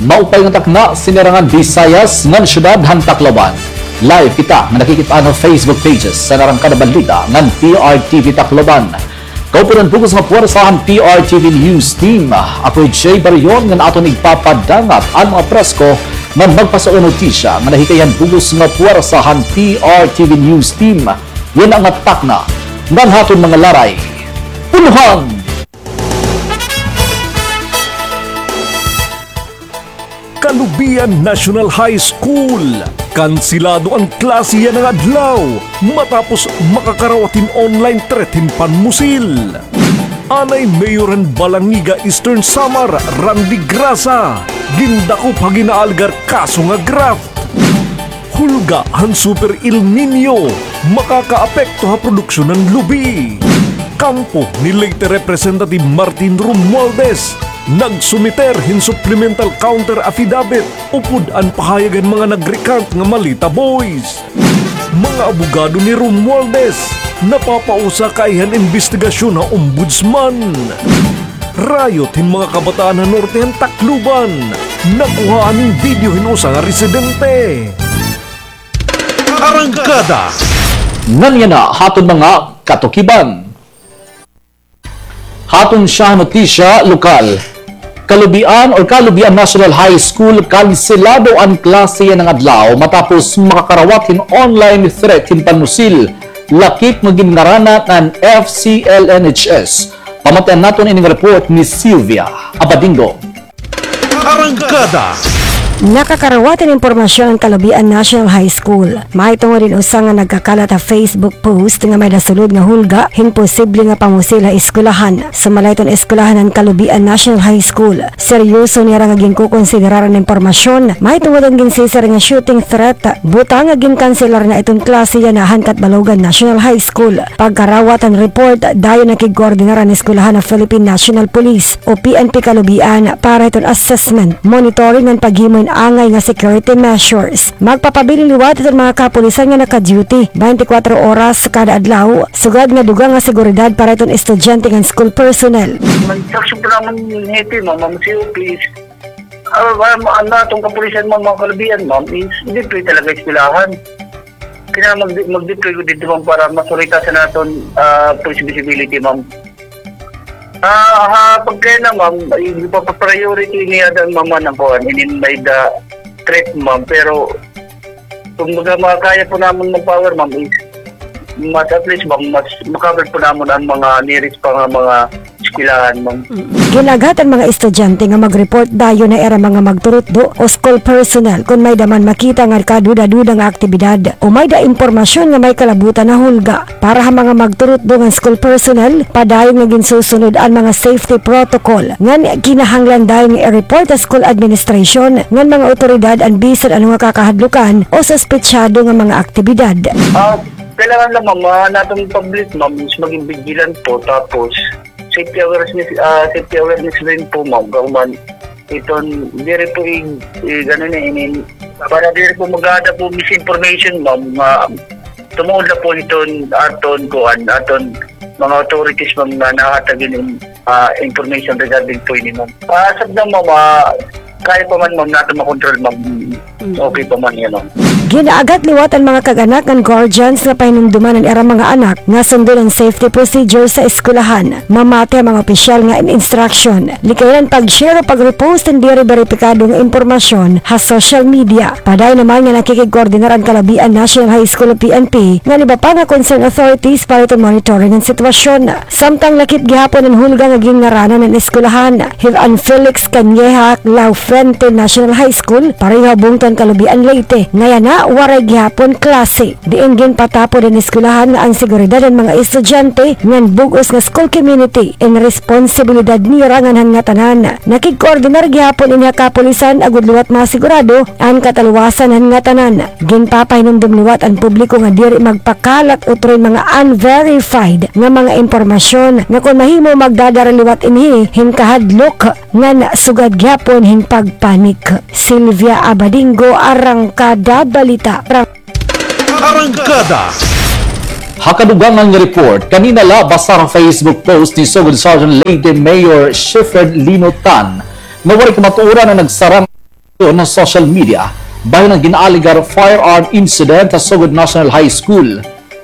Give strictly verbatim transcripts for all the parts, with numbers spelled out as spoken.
Maupay nga takna, sini Arangkada Visayas ngan syudad han Tacloban. Live kita nga nakikit-an ha Facebook pages san Arangkada Balita ngan P R T V Tacloban. Kauban han bug-os nga puwersa han P R T V News Team. Ako hi Jay Barion ngan aton igpapadangat an mga presko nga magpasao notisya nga nahikay han bug-os nga puwersa han P R T V News Team. Yana nga takna ngan ha aton mga laray. Ulohan! Calubian National High School. Kansilado an klase yana nga adlaw matapos makakarawat hin online threat hin panmusil. Anay Mayor han Balangiga, Eastern Samar, Randy Grasa, gindakop ha ginaalegar kaso nga graft. Hulga han Super El Niño makakaapekto ha produksyon han lubi. Kampo ni Leyte Representative Martin Romualdez, nagsumiter hin supplemental counter affidavit upod an pahayag han mga nag-recant nga Malita Boys. Mga abogado ni Romualdez, napapausa kaiha han imbestigasyon ha Ombudsman. Rayot hin mga kabataan ha norte han Tacloban. Nakuhaan hin video hin usa nga residente. Arangkada. Ngan yana ha aton mga katukiban. Ha aton siyahang notisya lokal. Calubian or Calubian National High School, kansilado an klase yana nga adlaw matapos makakarawat hin online threat hin panmusil, lakip nga ginngaranan an F C L N H S. Pamatian naton ini nga report ni Sylvia Abadingo. Arangkada. Nakakarawat hin impormasyon an Calubian National High School mahitungod hin usa nga nagkakalat ha Facebook post nga may nasulod nga hulga hin posible nga pamusil ha eskwelahan. Sumala hiton eskwelahan han Calubian National High School, seryoso nira nga ginkokonsiderar an impormasyon mahitungod han ginsisiring nga shooting threat, butang nga ginkanselar na iton klase yana han Catbalogan National High School. Pagkarawat han report, dayon nakigkoordinar an eskwelahan ha Philippine National Police o P N P Calubian para hiton assessment, monitoring ngan paghimo hin angay nga security measures. Magpapabilin liwat hiton mga kapulisan nga naka-duty twenty-four oras kada adlaw, sugad nga dugang nga seguridad para hiton estudyante ngan school personnel. Nag-instruction po namin hito, ma'am, ma'am, C O P is, ah, ah, ma-, ano, itong kapulisan, ma'am, mga Calubian, ma'am, is deploy talaga eskwelahan. Kailangan mag-, mag-deploy ko dito, ma'am, para masurita sa naton, ah, police visibility, ma'am. Ah, ha, pagkaya na, ma'am, ipapapriority niya dan, ma'am, ang kuwan, inin may da threat, ma'am. Pero, kung baga, makakaya po namin mag-power, ma'am, is mas, at least, ma'am, mas makakover po namin ang mga nearest pa nga mga eskwelahan, ma'am. Gin-aghat an mga estudyante nga mag-report dayon ha ira mga magturutdo o school personnel kon may-da man makita nga kaduda-duda nga aktibidad o may-da impormasyon nga may kalabutan ha hulga. Para ha mga magturutdo ngan school personnel, padayon nga ginsusunod an mga safety protocol ngan kinahanglan dayon nga i-report ha school administration ngan mga awtoridad an bisan ano nga kakahadlukan o suspetsado nga mga aktibidad. Ah, kailangan lang, ma'am, ah, natong public, ma'am, is maging vigilant po, tapos safety awareness, ah, safety awareness din po, ma'am. Kauman, iton, diri po i-, i-, ano na, inin, para diri po mag-ada po misinformation, ma'am, nga tungod na po iton aton, kuan, aton mga authorities, ma'am, nga nahatag inin, ah, information regarding po ini, ma'am. Ah, as of now, ma'am, ah, kaya pa man, ma'am, naton makontrol, ma'am. Okay pa man yan, ma'am. Gin-aghat liwat an mga kag-anak ngan guardians nga pahinumduman an ira mga anak nga sundon an safety procedure sa eskwelahan. Mamati ha mga opisyal nga in-instruction. Likayan an pag-share o pag-repost hin diri beripikado nga impormasyon ha social media. Padayon naman nga nakikigkoordinar an Calubian National High School o P N P ngan iba pa nga concerned authorities para hiton monitoring an sitwasyon. Samtang lakip gihapon an hulga nga ginngaranan an eskwelahan, hiv-an Felix Cañeja Laufente National High School, pareho ha bungto han Calubian, Leyte, nga yana waray gihapon klase. Diin ginpatapod an eskwelahan nga an seguridad han mga estudyante ngan bug-os nga school community in responsibilidad nira ngan han ngatanan. Nakigkoordinar gihapon ini ha kapulisan agod liwat masigurado an kataluwasan han ngatanan. Ginpapahinumdom liwat an publiko nga diri magpakalat utro hin mga unverified nga mga impormasyon nga kon mahimo magdadara liwat ini hin kahadlok ngan sugad gihapon hin pagpanik. Sylvia Abadingo, Arangkada Balita. Arangkada. Ha kadugangan nga report, kanina la basa ha Facebook post ni Sugod Sergeant Leyte Mayor Shepherd Lino Tan nga waray kamatuoran an nagsarang ha social media bahin an gin-aalegar firearm incident ha Sogod National High School.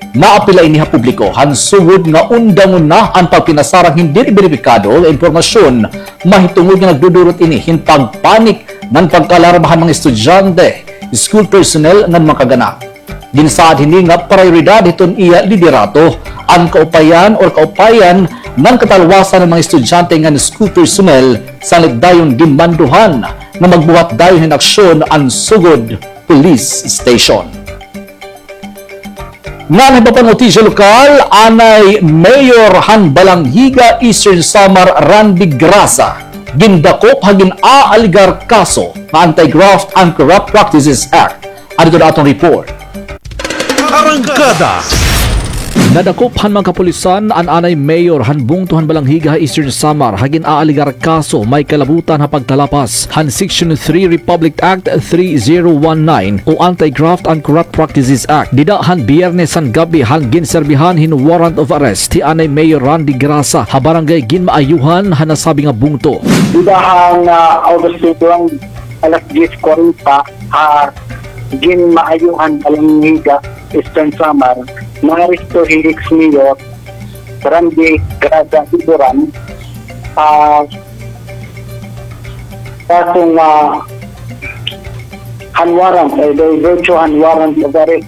Naapila ini ha publiko han sugod nga undangon na an pagpinasarang hindi beripikado nga impormasyon, mahitungod nga nagdudurot ini hin pagpanik ngan pagkaalarma han mga estudyante, school personnel ngan mga kagana. Ginsaad hini nga prayoridad hiton iya liderato an kaupayan or kaupayan ngan katalwasan han mga estudyante ngan school personnel, sanglit dayon ginmanduhan nga magbuhat dayon hin aksyon an sugod police station. Ngan ha iba pa nga notisya lokal, anay mayor han Balangiga, Eastern Samar, Randy Grasa, gindakop ha gin-aalegar kaso nga Anti-Graft and Corrupt Practices Act. Adto an aton report. Arangkada. Nadakop han mga kapulisan an anay mayor han bungto han Balangiga ha Eastern Samar ha gin-aalegar kaso may kalabutan ha pagtalapas han Section three Republic Act three zero one nine o Anti-Graft and Corrupt Practices Act. Dida han Biyernes han gab-i han ginserbihan hin warrant of arrest hi anay Mayor Randy Grasa ha Barangay Ginmaayuhan ha nasabi nga bungto. Dida han, ah, August twenty-one, alas diyes kwarenta, ha Ginmaayuhan, Balangiga, Eastern Samar, naaresto hi ex-mayor Randy Grasa Iburan, ah, kaso nga han warrant, eh, by virtue han warrant of arrest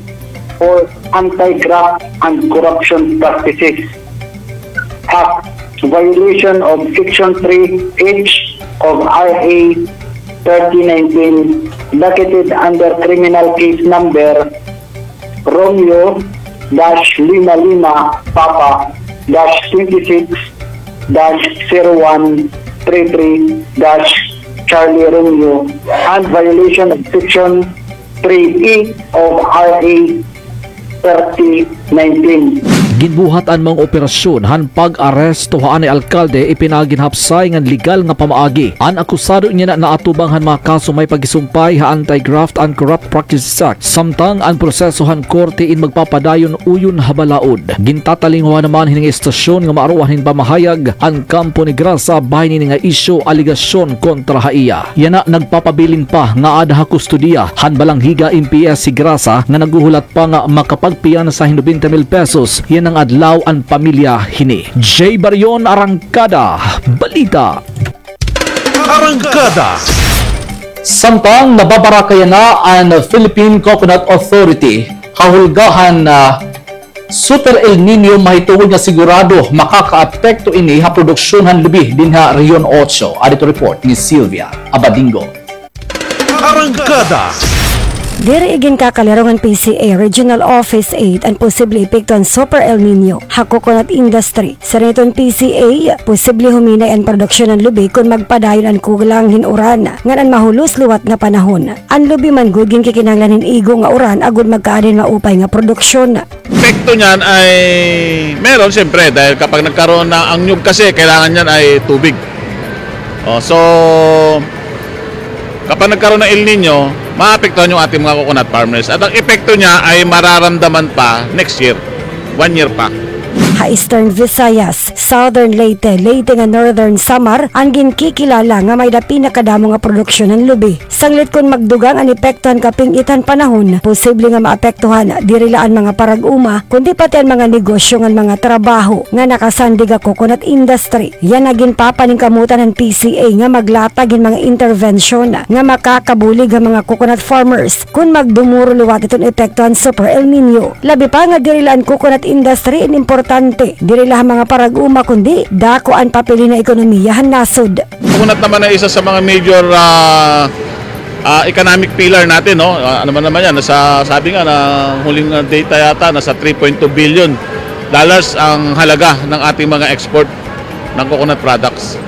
for Anti-Graft and Corruption Practices Act, violation of Section three H of R A thirty nineteen, docketed under criminal case number Romeo dash lima lima Papa dash twenty-six dash zero one three three dash Charlie Romeo, and violation of Section three E of R A thirty nineteen. Ginbuhat an maong operasyon han pag-aresto ha anay alkalde ipinaagi han hapsay ngan legal nga pamaagi. An akusado niyan naatubang han mga kaso may paghisumpay ha Anti-Graft and Corrupt Practices Act, samtang an proseso han korte in magpapadayon uyon ha balaod. Gintatalinguha naman hini nga istasyon nga maaruan hin pamahayag an kampo ni Grasa bahin hini nga isyu alegasyon kontra ha iya. Yana nagpapabilin pa nga aada ha kustodiya han Balangiga M P S hi Grasa nga naghuhulat pa nga makapagpiyansa hin nobenta mil pesos yana nga adlaw an pamilya hini. Jay Barion, Arangkada Balita. Arangkada. Samtang nababaraka yana an Philippine Coconut Authority ha hulga han, ah, Super El Niño, mahitungod nga sigurado makakaapekto ini ha produksyon han lubi dinhi ha Region Ocho. Adto report ni Sylvia Abadingo. Arangkada. Diri iginkakalaro han P C A Regional Office eight an posible epekto han Super El Niño ha coconut industry. Siring hiton P C A, posible huminay an produksyon han lubi kon magpadayon an kulang hin uran ngan an mahulos liwat nga panahon. An lubi man gud ginkikinahanglan hin igo nga uran agod magkaada hin maupay nga produksyon. Epekto niyan ay meron, siyempre, dahil kapag nagkaroon na, ang niyog kasi, kailangan niyan ay tubig. Oh, so, kapag nagkaroon ng El Nino, maapektuhan yung ating mga coconut farmers. At ang epekto niya ay mararamdaman pa next year, one year pa. Ha Eastern Visayas, Southern Leyte, Leyte ngan Northern Samar an ginkikilala nga may-ada pinakadamo nga produksyon han lubi. Sanglit kon magdugang an epekto han kaping-it han panahon, posible nga maapektuhan diri la an mga parag-uma, kundi pati an mga negosyo ngan mga trabaho nga nakasandig ha coconut industry. Yana ginpapaningkamutan han P C A nga maglatag hin mga intervensyon nga makakabulig ha mga coconut farmers kon magdumuro liwat iton epekto han Super El Nino. Labi pa nga diri la an coconut industry in importante diri la ha mga parag-uma, kundi dako an papel hin ekonomiya han nasod. Coconut naman ay isa sa mga major, ah, ah, economic pillar natin, no? Ah, ano man naman yan, nasa, sabi nga, na huling, ah, data yata, nasa three point two billion dollars ang halaga ng ating mga export ng coconut products.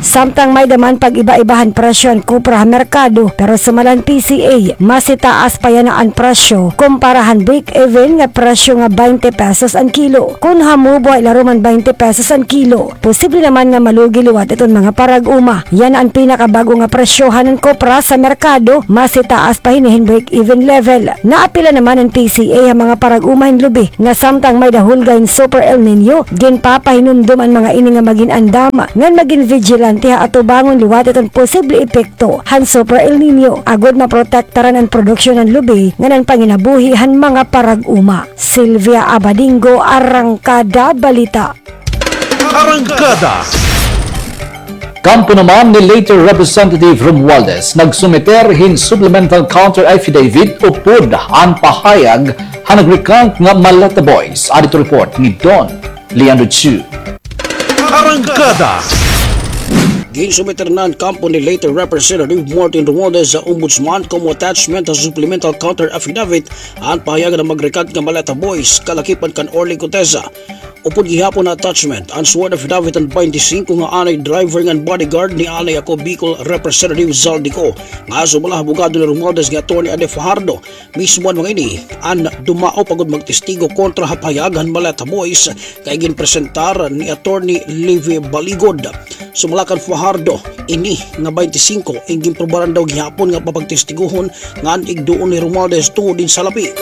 Samtang may-ada man pag-iba-iba han presyo han kopra ha merkado, pero sumala han P C A, mas itaas pa yana an presyo kumpara han break-even nga presyo nga baynte pesos an kilo. Kon hamubo ha ilarom han baynte pesos an kilo, posible naman nga malugi liwat iton mga parag-uma. Yana an pinakabag-o nga presyohan han kopra sa merkado, mas itaas pa hini hin break-even level. Naapila naman an P C A ha mga parag-uma hin lubi nga samtang may-ada hulga hin Super El Nino, ginpapahinumdom an mga ini nga magin andam ngan magin vigilant Importante ha atubangon liwat iton posible epekto han Super El Niño agod maprotektaran an produksyon han lubi ngan an panginabuhi han mga parag-uma. Sylvia Abadingo, Arangkada Balita. Arangkada. Kampo naman ni late Representative Romualdez nagsumiter hin supplemental counter affidavit upod an pahayag han nag-recant nga Maleta Boys. Adto report ni Don Leandro Chu. Arangkada. Ginsumiter na han kampo ni late Representative Martin Romualdez sa Ombudsman komo attachment sa supplemental counter affidavit an pahayag han mag-recant nga Maleta Boys kalakipan kan Orly Guteza. Upod gihapon nga attachment an sworn affidavit han baynte singko nga anay driver ngan bodyguard ni anay ako Bicol Representative Zaldy Co, nga sumala ha abogado ni Romualdez nga Attorney Ade Fajardo. Mismo an mga ini an dumaop agod magtestigo kontra ha pahayag han Maleta Boys nga iginpresentar ni Attorney Livy Baligod. Sumala kan Fajardo, ini nga baynte singko, iginprobaran daw gihapon nga papagtestiguhon ngan igduon ni Romualdez tungod hin salapi.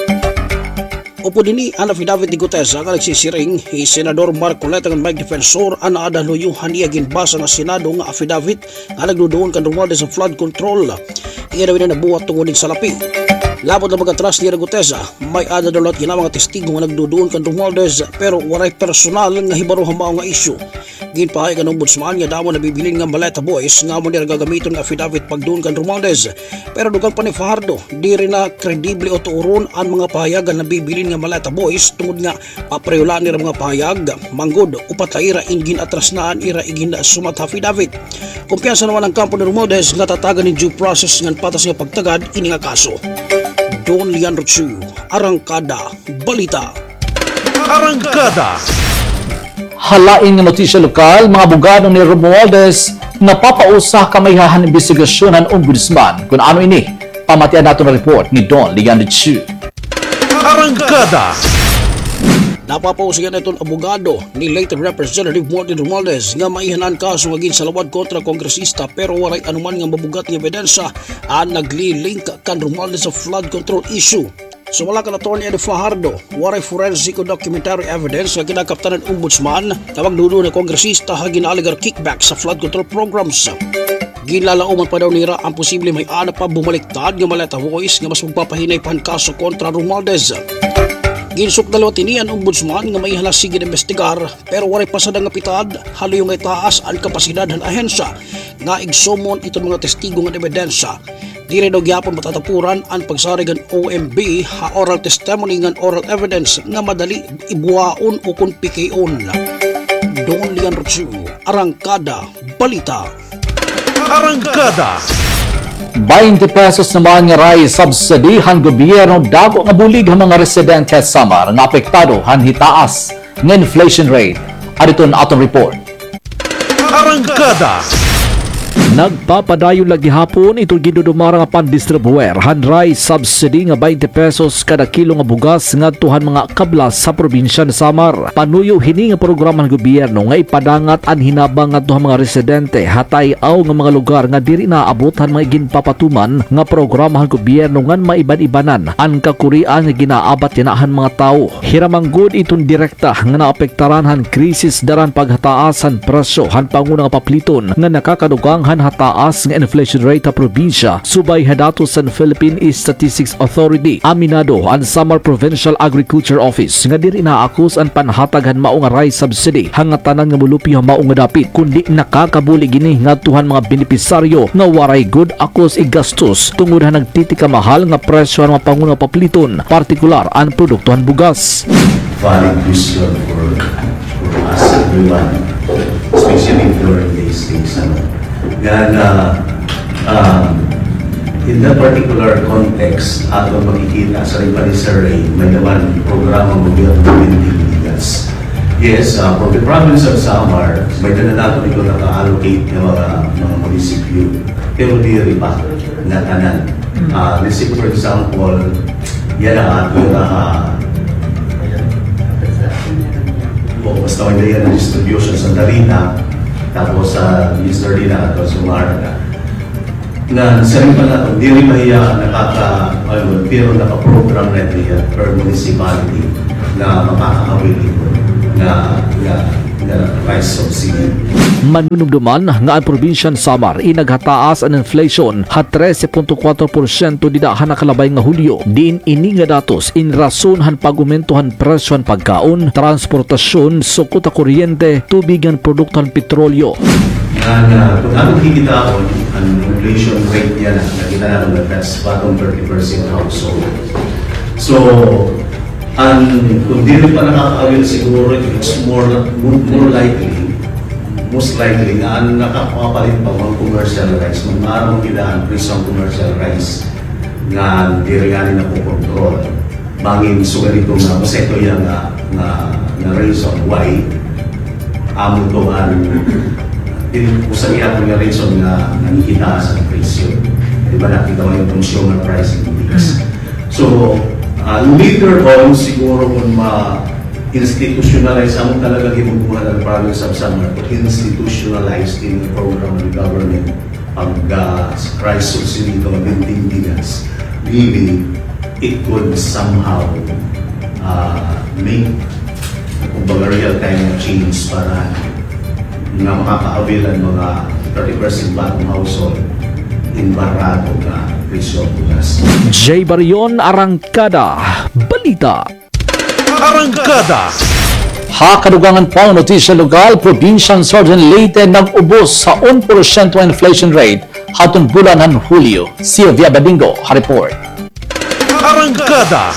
Upod hini an affidavit ni Guteza nga nagsisiring, hi Senador Marcoleta ngan Mike Defensor an aada luyo han iya ginbasa nga Senado nga affidavit nga nagduduon kan Romualdez sa flood control. Iya daw ini nabuhat tungod hin salapi. Labot na pag-atras ni Guteza, may-ada daw liwat gihap nga testigo nga nagduduon kan Romualdez, pero waray personal nga hibaro ha mao nga isyu. Ginpahayag han Ombudsman nga damo nabibilin nga Maleta Boys nga amo nira gagamiton nga affidavit pagduon kan Romualdez. Pero dugang pa ni Fajardo, diri na kredible o tuoron an mga pahayag han nabibilin nga Maleta Boys tungod nga papareho la nira mga pahayag, manggod, upat la ira in gin-atras na an ira iginsumat ha affidavit. Kumpiyansa naman an kampo ni Romualdez nga tatagan hin due process ngan patas nga pagtagad ini nga kaso. Don Leandro Chu, Arangkada Balita. Arangkada. Ha lain nga notisya lokal, mga abogado ni Romualdez napapausa ha kamay han imbestigasyon han Ombudsman. Kon ano ini, pamatian naton an report ni Don Leandro Chu. Arangkada. Napapausa gihap iton abogado ni late Representative Martin Romualdez nga maiha na an kaso nga ginsalawad kontra kongresista, pero waray anuman nga mabugat nga ebidensya an nagli-link kan Romualdez sa flood control issue. Sumala kan Attorney Eddie Fajardo, waray forensic o documentary evidence nga kinakaptan han Ombudsman nga magduduon nga kongresista ha gin-alegar kickback sa flood control programs. Ginlalaoman pa daw nira an posible may-ada pa bumaliktad nga Maleta Boys nga mas magpapahinay pa han kaso kontra Romualdez. Ginsukdan liwat hini an Ombudsman nga maiha na sige nga imbestigar, pero waray pa sada nga pitad ha luyo nga itaas an kapasidad han ahensya nga igsummon iton mga testigo ngan ebidensya. Diri daw gihapon matatapuran an pagsarig han O M B ha oral testimony ngan oral evidence nga madali ibuwaon o kon pikion. Don Leandro Chu, Arangkada Balita. Arangkada. Baynte pesos naman nga rice subsidy han gobyerno dako nga bulig ha mga residente ha Samar nga apektado han hitaas nga inflation rate. Adto an aton report. Arangkada. Nagpapadayon la gihapon iton gindudumara nga pandistribuer han rice subsidy nga baynte pesos kada kilo nga bugas ngadto han mga kablas sa probinsya han Samar. Panuyo hini nga programa han gobyerno nga ipadangat an hinabang ngadto ha mga residente ha tay-aw nga mga lugar nga diri naaabot han mga ginpapatuman nga programa han gobyerno ngan maiban-ibanan an kakurian nga ginaabat yana han mga tawo. Hira man gud iton direkta nga naapektaran han krisis dara han paghataas han presyo han panguna nga papliton nga nakakadugang han hataas nga inflation rate ha probinsya, subay ha datos han Philippine Statistics Authority. Aminado an Samar Provincial Agriculture Office nga diri naakos an panhatag han mao nga rice subsidy ha ngatanan nga molupyo ha mao nga dapit, kundi nakakabulig ini ngadto han mga benepisaryo nga waray gud akos igastos tungod han nagtitikamahal nga presyo han mga panguna nga papliton, partikular an produkto han bugas. Valid question for, for us, everyone, especially if you're in these things, ano. Nga, nga, um, in that particular context, aton makikita sa rin pa ni Sir Ray, may naman programa ng gobyerno ng bigas. Yes, uh, for the province of Samar, may na nato ito naka-allocate ng mga, mga munisipyo. Pero diri pa nga tanan. Ah, let's say, for example, yana ato yana ha, o basta may yana distribution sa Darina, tapos sa Miss Darina at sa Marga. Na sa rin pa nato, diri pa hiya nakaka-, ano, pero naka-program na hiya per municipality na makaka-avail ito na, na Price of sili. Manunumduman nga an Probinsya han Samar in naghataas an inflation ha trese punto kuwatro porsyento dida ha nakalabay nga Hulyo, diin ini nga datos in rason han pag-umento han presyo han pagkaon, transportasyon, sukot ha kuryente, tubig ngan produkto han petrolyo. Ngan, ah, kon aton kikitaon, an inflation rate niya na, nakita naton na that's bottom thirty percent household. So, an, kon diri pa nakaka-avail siguro, it's more, more likely, most likely, nga an nakakapalit pa mga commercial rice, maaram kita an presyo han commercial rice nga diri ngani nakokontrol. Bangin sugad ito nga, basta ito iya nga, nga, nga reason why amo to an, dili, usa gihapon nga reason nga nanghihitaas an presyo. Di ba, nakita mo yung consumer price index. So, ah, later on, siguro kon ma-institutionalize, amo talaga hinuguhan an province of Samar, institutionalize in the program of the government pag, ah, rice subsidy to maintenance, maybe it could somehow, ah, make, kumbaga, real time na change para nga makaka-avail an mga thirty percent bottom household in barato nga presyo han bugas. Jay Barion, Arangkada Balita. Arangkada. Ha kadugangan pa nga notisya lokal, Probinsya han Southern Leyte nag-ubos ha un porsyento inflation rate hadton bulan han Hulyo. Sylvia Badingo ha report. Arangkada.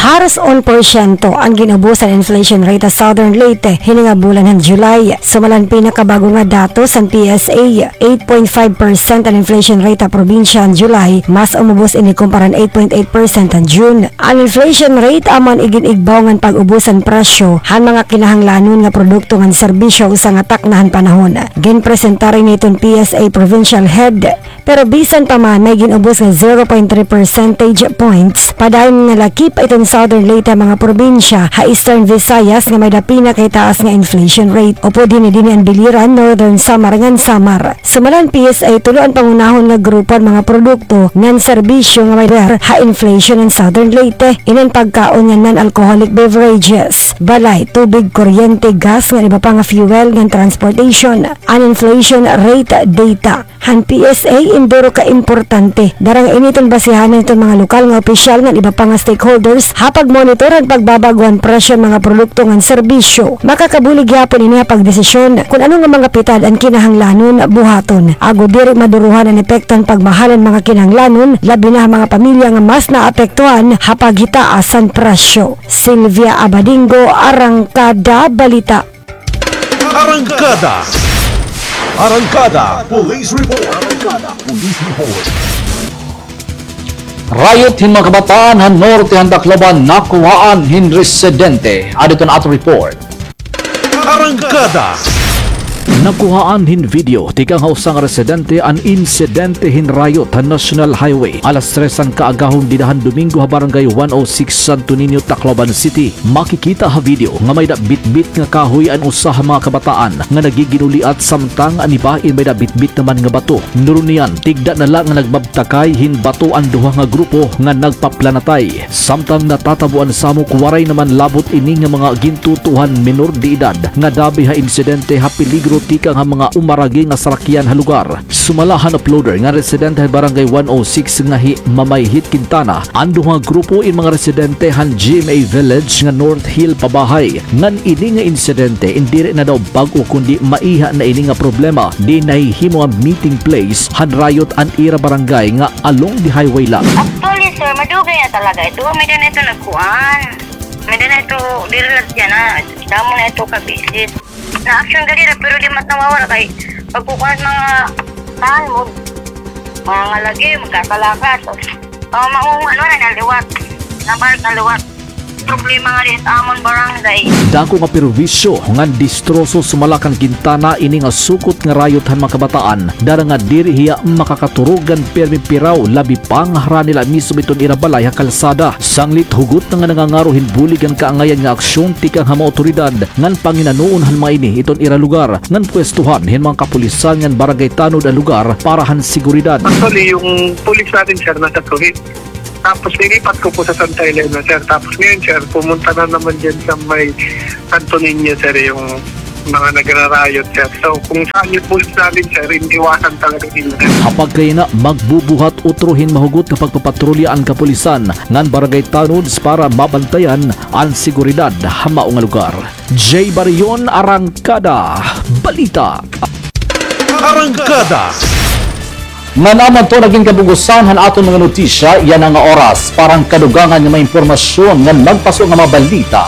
Haros un porsyento an gin-ubos han inflation rate ha Southern Leyte hini nga bulan han July. Sumala han pinakabag-o nga datos han P S A, eight point five percent an inflation rate ha probinsya han July, mas umubos ini kumpara han eight point eight percent han June. An inflation rate amo an igin-igbaw ngan pag-ubos han presyo han mga kinahanglanon nga produkto ngan serbisyo usa nga takna han panahon. Ginpresentar ini hiton P S A provincial head, pero bisan pa man may gin-ubos nga zero point three percentage points padayon nga laki pa iton Southern Leyte han mga probinsya ha Eastern Visayas nga may-ada pinakahitaas nga inflation rate. Upod hini dinhi an Biliran, Northern Samar ngan Samar. Sumala han P S A, tulo an pangunahon nga grupo an mga produkto ngan serbisyo nga may power ha inflation han Southern Leyte. Ini an pagkaon ngan non-alcoholic beverages, balay, tubig, kuryente, gas ngan iba pa nga fuel ngan transportation. An inflation rate data han P S A in duro ka importante. Dara nga ini iton basihanan hiton mga lokal nga opisyal ngan iba pa nga stakeholders ha pagmonitor han pagbabag-o han presyo han mga produkto ngan serbisyo. Makakabulig gihapon ini ha pagdesisyon kon ano nga mga pitad an kinahanglanon buhaton, agod diri maduruhan an epekto han pagmahal han mga kinahanglanon, labi na ha mga pamilya nga mas naapektuhan ha paghitaas han presyo. Sylvia Abadingo, Arangkada Balita. Arangkada. Arangkada Police Report. Arangkada Police Report. Riot hin mga kabataan han norte han Tacloban nakuhaan hin residente. Adi iton aton report. Arangkada. Nakuhaan hin video tikang ha usa nga residente an insidente hin riot han National Highway alas tres han kaagahon dida han Domingo ha Barangay one oh six Santo Niño, Tacloban City. Makikita ha video nga may-ada bitbit nga kahoy an usa ha mga kabataan nga nagiginuliat, samtang an iba in may-ada bitbit naman nga bato. Nuron niyan, tigda na la nga nagbabtakay hin bato an duha nga grupo nga nagpaplanatay. Samtang natatabuan samok, waray naman labot ini nga mga gintutuohan menor de edad nga dabi ha insidente ha peligro tikang ha mga umaragi nga sarakyan ha lugar. Sumala han uploader nga residente han Barangay one oh six nga hi Mamay Hit Quintana, an duha nga grupo in mga residente han G M A Village nga North Hill Pabahay, ngan ini nga insidente in diri na daw bag-o kundi maiha na ini nga problema diin nahihimo nga meeting place han riot an ira barangay nga along the highway la. Actually, sir, madugay na talaga ito. May-ada na ito nagkuan. May-ada na ito, diri la siya na. Damo na ito ka-visit. Na-action gani ra, pero di man nawawara kay pagkukuan mga tahan mo, mga ngalagi, magkakalakad. O, maunga, ano na, naliwat. Nabalik, naliwat. Problema nga di sa amon barangay. Dako nga perwisyo ngan distroso sumala kan Quintana ini nga sukot nga riot han mga kabataan, dara nga diri hiya makakaturog ngan pirmi piraw, labi pa nga harani la mismo iton ira balay ha kalsada. Sanglit hugot na nga nangangaro hin bulig ngan kaangayan nga aksyon tikang ha mga awtoridad ngan panginanoon han mga ini iton ira lugar ngan pwestuhan hin mga kapulisan ngan barangay tanod an lugar para han seguridad. Actually, yung pulis natin, sir, nasa Tuhi. Tapos nilipat ko po sa Santa Elena, sir. Tapos ngayon, sir, pumunta na naman dyan sa may Santo Niño, sir, yung mga nagra-riot, sir. So, kung saan yung police namin, sir, iniiwasan talaga nila. Ha pagkayana, magbubuhat utro hin mahugot nga pagpapatrolya an kapulisan ngan barangay tanods para mabantayan an seguridad ha mao nga lugar. Jay Barion, Arangkada Balita. Arangkada. Ngan amo adto nagin kabugusan han aton mga notisya yana nga oras. Para han kadugangan nga mga impormasyon ngan magpaso nga mga balita,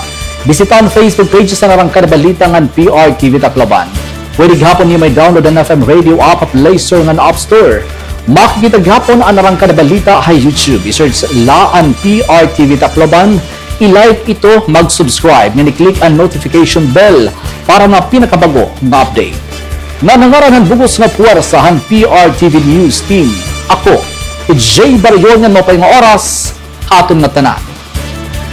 bisita an Facebook pages han Arangkada Balita ngan P R T V Tacloban. Pwede gihapon niyo ma-download an F M Radio app ha Play Store ngan App Store. Makikita gihapon an Arangkada Balita ha YouTube. I-search la an P R T V Tacloban. I-like ito, mag-subscribe, ngan i-click an notification bell para nga pinakabag-o nga update. Ngan ha ngaran han bug-os nga puwersa han P R T V News Team, ako hi Jay Barion, ngan maupay nga oras ha aton ngatanan.